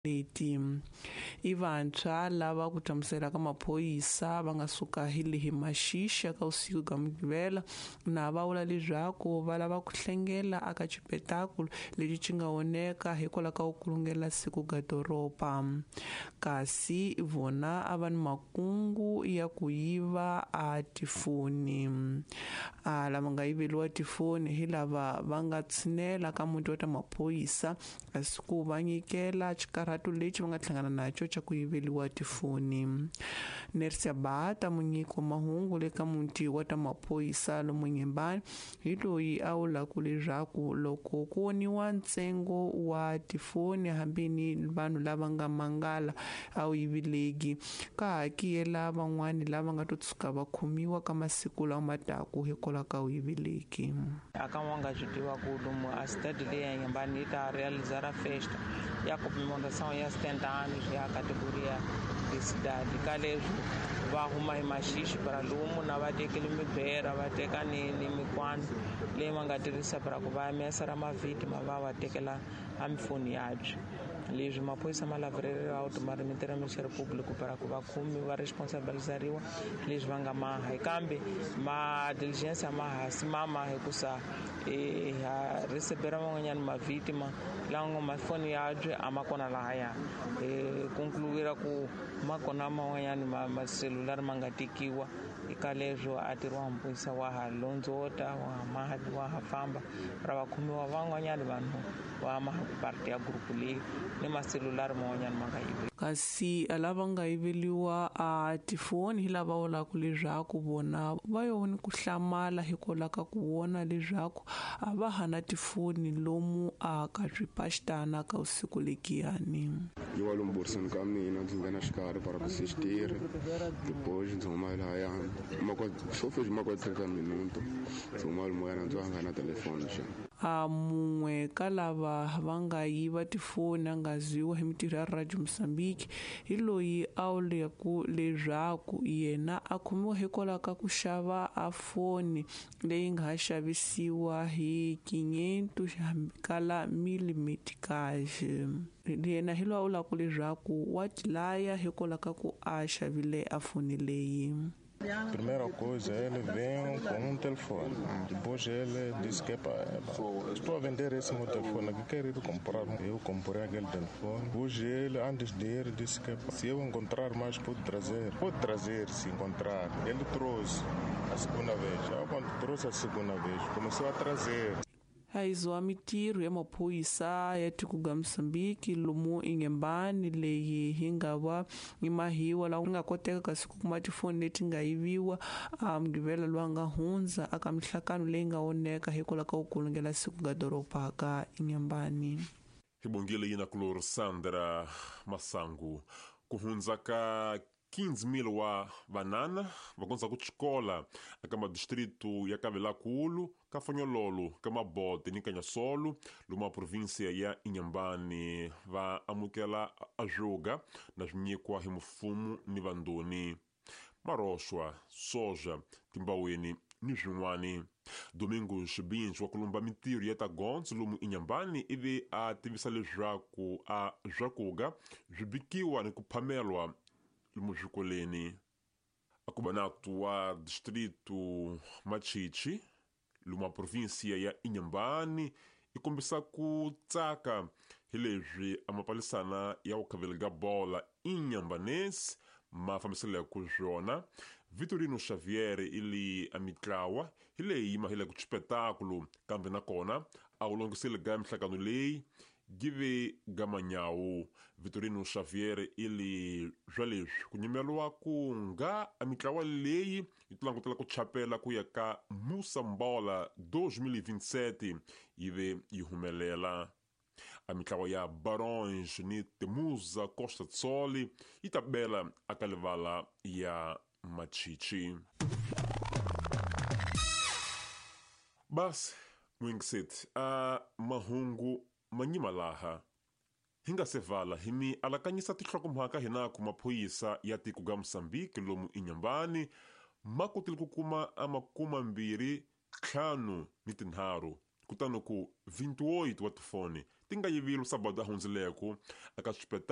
Leti i vantshwa lava ku hlamusela ka maphorisa va nga suka hi lehi maxixa ka vusiku bya Mugqivela na va vula leswaku va lava ku hlengela aka xipetakulo lexi xi nga oneka hikwalaho ka ku kulungela siku ga doroba, kasi vona a va ni makungu ya ku yiva a tifoni. A lava nga yiveriwa tifoni hi lava va nga tshinela ka muti wa ta maphorisa, kasi ku va nyikela xikarhato lexi va nga hlangana naxo xa ku yiveriwa tifoni. Nersia Bata, munyiki wa mahungu le ka muti wa ta maphorisa lomu Nyembani, hi loyi a vulaka leswaku loko ku voniwa ntsengo wa tifoni hambi ni vanhu lava nga mangala a wu yiveleki, ka hakela van'wani lava nga to tshuka va khomiwa ka masiku lawa ma taku hikwalaho ka wu yiveleki. Aka wa nga swi tiva ku lomu a cidade leyi ya Nyembani yi ta realizar a festa ya comemoração ya 70 anos ya categoria de cidade. Ka leswi va huma hi maxixi para lomu na va tekele mibera, va teka ni mikwani leyi va nga tirhisa para ku va mesa ra mavhitima, va va tekela a mifoni yabye. Leswi maphorisa ma lavereriwa auto ma remetera Ministério Público para ku va khomi va responsabilizariwa leswi va nga maha, kambe ma diligência ma hasi mama hikusa ha recebera van'wanyana mavhitima lawa nga mafoni yabye a ma kona lahaya. Concluir ku ma kona man'wanyana maselulari ma nga tekiwa eka leswo a tirhiwa maphorisa wa ha londzota, wa ha maha, wa ha famba ra va khomiwa van'wanyana vanhu va maha ku parte ya group leyi ni maselulari man'wanyana ma nga yiviwa. Kasi lava nga yiveriwa a tifoni hi lava vulaka leswaku vona va yo ni ku hlamala hikwalaho ka ku vona leswaku a va ha na tifoni lomu a ka swipaxitana ka vusiku lekiyani. Yi wa lomu boriseni ka mina, ndzi nghena xikarhi para ku sixtiri, depois ndzi huma lahaya swo fezi ma kwa 30 minuto, ndzi huma lomu ndzi va nga na telefoni xa. A mun'we ka lava va nga yiva tifoni a nga ziwa hi mitirho ya Radio Mozambique hi loyi a vuleku leswaku yena a khomiwa hikwalaho ka ku xava a foni leyi nga ha xavisiwa hi 500 kala 1000 meticage. Yena hi loyi a vulaka leswaku wa tilaya hikwalaho ka ku a xavile a foni leyi. Primeira coisa, ele veio com um telefone. Depois ele disse que estou a vender esse meu telefone aqui, quero ir comprar. Eu comprei aquele telefone. Hoje ele, antes de ir, disse que se eu encontrar mais, pode trazer. Pode trazer se encontrar. Ele trouxe a segunda vez. Eu, quando trouxe a segunda vez, começou a trazer. Hayizo mitirho ya maphorisa ya tiko ga Mozambique lomu Inhambane leyi hi nga va ni mahiwa lawa nga koteka kasi ku kuma tifoni leti nga yiviwa a Mugqivela lowu nga hundza aka mihlangano leyi nga oneka hikwalaho ka ku kulungela siku ga doroba ka Inhambane. Hi bongile yina kulor Sandra Masangu ku hundza ka 15.000 wa vanana va kondza ku xikola eka madistritu ya Kavelakulu, ka Fonyololo, ka Mabote ni Kanyasolo lomu a província ya Inhambane va amukela ajoga na swinyikwa hi mfumo ni vandoni, maroxwa, soja, timbaweni ni swin'wani. Domingos Binch wa kulumba mintirho ya ta gondzo lomu Inhambane ivi a tivisa leswaku a swakuga swi bikiwa ni ku phamelwa lomu swikoleni. Akubanato wa distrito Machichi lomu a província ya Inhambane i kombisa ku tsaka hi leswi a mapalisana ya ku khavela ga bola Inhambanense ma fambiselaka swona. Vitorino Xavier ili a mitlawa hi leyi ma hile ku xipetakulo, kambe nakona a wu longiseli ga mihlangano leyi give gamanyawu. Vitorino Xavier ili swa leswi ku nyimeriwa ku nga a mitlawa leyi yi langutela ku chapela ku ya ka Moçambola 2027 yi ve yi humelela. A mitlawa ya Barões ni Temuza Costa Tsoli yi ta bela aka livala ya Machichi. Basi mwingisethi a mahungu manyima laha hi nga se vala hi mi alakanyisa tinhlokomhaka hina ku maphorisa ya tiko ga Mozambique lomu Inhambane ma kotile ku kuma a 25 ni 3 kutani ku 28 wa tifoni ti nga yivilu sabado a hundzileko aka xipeta.